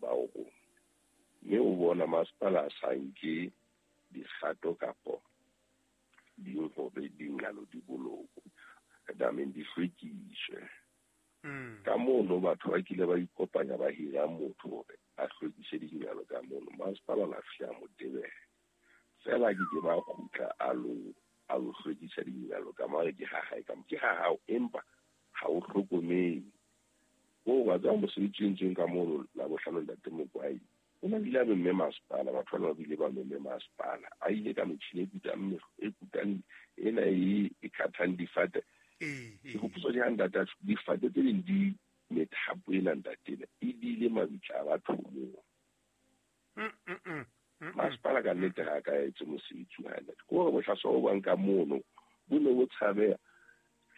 morao rona. Mme o bona masepala a sa nke dikgato kapo ding hore dingalo di bolokwe, dameng di hlwekiswe. Ka mono batho ba kile ba ikopanya ba hira motho hore a hlwekise dingalo ka mono. Masepala la fihla mo tebela. Fela ke ke ba kgutla a lo hlwekisa dingalo ka mare ke ha hae ka ke ha hao empa ha o hlokomele. O wa tswa mosebetsi o entsweng ka mono la bohlano ntate Mokwai. O na bile a memme masepala, batho bana ba bile ba memme masepala. A ile ka metjhini e kutang ena e khathang difate. Ke hopotsa ke ha ntate difate tse ding di methapo ena ntate ena e dile mabitla a batho moo. Masepala ka nnete ha ka etse mosebetsi wa hae. Ke hore bohlaswa bo bang ka mono bo ne bo tshabeha.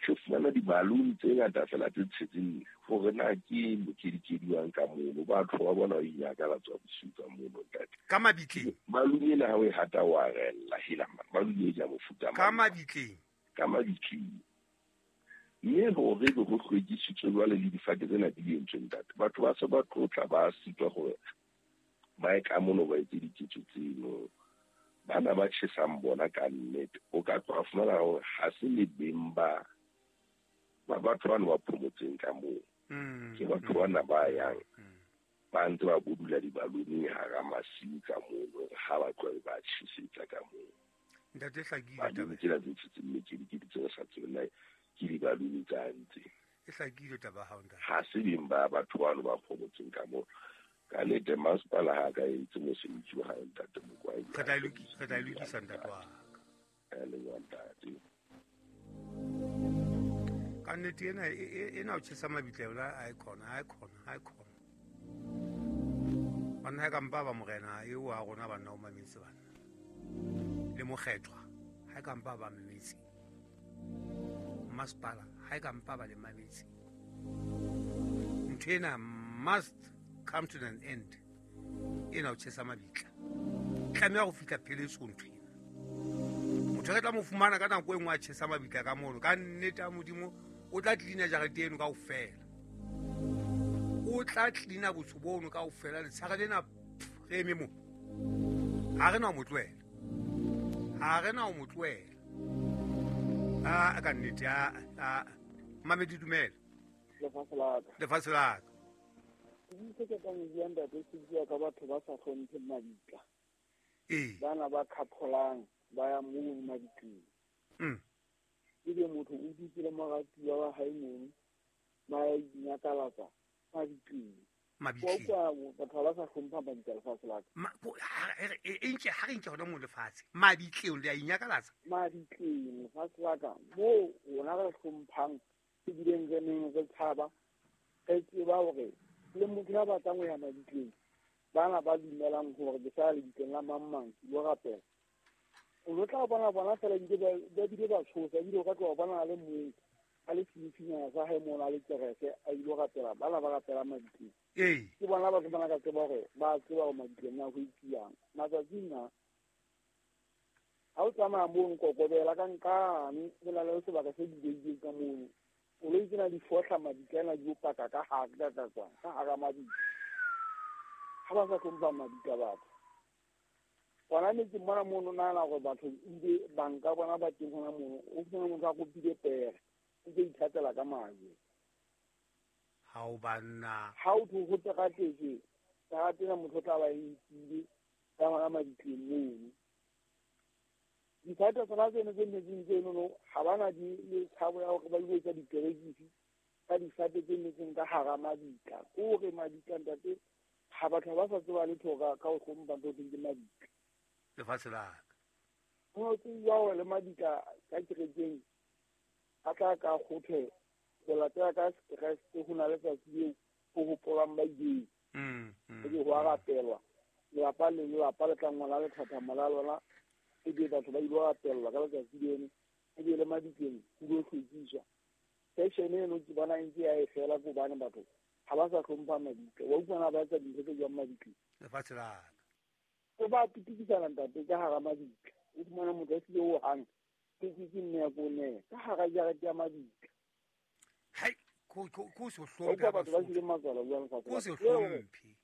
Re fumana di-balloon tse ngata fela tse tshetseng hore na ke mokedikediwang ka mono. Batho ba bona ba inyakalatsa bosiu ka mono ntate. Ka mabitleng. Balloon ena ha o e hata wa rella hela balloon e ja mofuta mang. Ka mabitleng. Ka mabitleng. Mme hore be ho hlwekisitswe jwale le difate tsena di entswe ntate. Batho ba se ba tlotla ba sitwa hore ba ye ka mono ba etse diketso tseno. Bana ba tjhesang bona ka nnete. O ka tloha fumana hore ha se le beng ba batho bana ba phomotseng ka moo. Ke batho bana ba yang ba ntse ba bodula dibaloneng hara masiu ka mono ha ba tloha ba tjhesetsa ka moo. Ntate hlakile taba. Tsena tse tshetseng mekedikedi tse re sa tsebeng na ke dibalone tsa ntse. E hlakile taba ya hao ntate. Ha se beng ba batho bano ba phomotseng ka moo. Ka nnete masepala ha ka etse mosebetsi wa hae ntate Mokwai. Re tla e lokisa ntate wa ka. Ka leboha ntate. Ka nnete ena o tjhesa mabitla yona a e khona. Banna ha ka mpa ba morena eo a rona banna o mametse banna. Le mokgethwa ha ka mpa ba mametse. Masepala ha ka mpa ba le mametse. Ntho ena must come to an end. Ena o tjhesa mabitla. Tlameha ho fihla pheletsong ntho ena. Motho re tla mo fumana ka nako e nngwe a tjhesa mabitla ka mono. Ka nnete ya Modimo o tla tlina jarete eno kaofela. O tla tlina botsho bono kaofela letshare lena re eme mo. Ha re na ho mo tlohela. Ha re na ho mo tlohela. A ka nnete a mamedi dumela. Lefatshe la ka. Lefatshe la ka. Ke ka bua ntate se bua ka batho ba sa hlompheng mabitla. Bana ba khapholang ba ya moo mabitleng. Ebe motho o dutse le moratuwa wa hae mono ba ya inyakalatsa mabitleng. Mabitleng. Batho ba sa hlompha mabitla lefatshe la ka. Ha re nke hona moo lefatshe. Mabitleng le ya inyakalatsa. Mabitleng lefatshe la ka moo rona re hlomphang ebileng re neng re tshaba re tseba hore le motho ya batlang ho ya mabitleng bana ba dumelang hore ke sa lebitleng la mang mang ke lo rapela. O lo tla bona fela ba bile ba tshosa ebile o ka tloha bona le mong a le senifinyana sa hae mono a le kereke a ilo rapela bana ba rapela mabitleng. Ke bona batho bana ka tseba hore ba tseba hore mabitleng na ho itsiyang. Matsatsing a ha o tsamaya mono kokobela ka nkane ho na le sebaka se bulehileng ka mono. Koloi tsena di fohla mabitla ana di o paka ka hare ka kwana ka hara mabitla. Ha ba sa hlompha mabitla batho. Hona metseng mona mono nahana hore batho ebile banka bona ba teng hona mono. O fumana motho a kopile pere o ntse ithatela ka majwe. Ha o banna. Ha o tho ho teratetswe, teratena motho o tla ba e nkile ka hona mabitleng mono. Difate tsona tseno tse metseng tseno ha bana di le tshabo ya hore ba ilo etsa dikerekisi ka difate tse metseng ka hara mabitla. Ke hore mabitla ntate ha batho ba sa tseba letho ka ho hlompha ntho tse ke mabitla. Lefatshe la ka. Ho tsebiwa hore le mabitla ka kerekeng a tla ka kgothe ho latela ka Sekreste ho na le tsatsi leo ho hopolang ba ileng. Ebe ho a rapelwa. Lelapa le lelapa le tla ngola lethathamo la lona. Ebe batho ba ilo rapellwa ka letsatsi leno. Ebe le mabitleng ho lo hlwekiswa. Fashion eno ke bona e ntse ya e fela ke hobane batho ha ba sa hlompha mabitla. Wa utlwa na ba etsa dintho tse jwang mabitleng. Lefatshe la ka. O ba pitikisana ntate ka hara mabitla. O fumana motho a hlile ho hang. Ke nne ya ko ne ka hara jarete ya mabitla. Hai, ko se hlomphe. Batho ba hlile matswalo jwang lefatshe. Ko se hlomphe.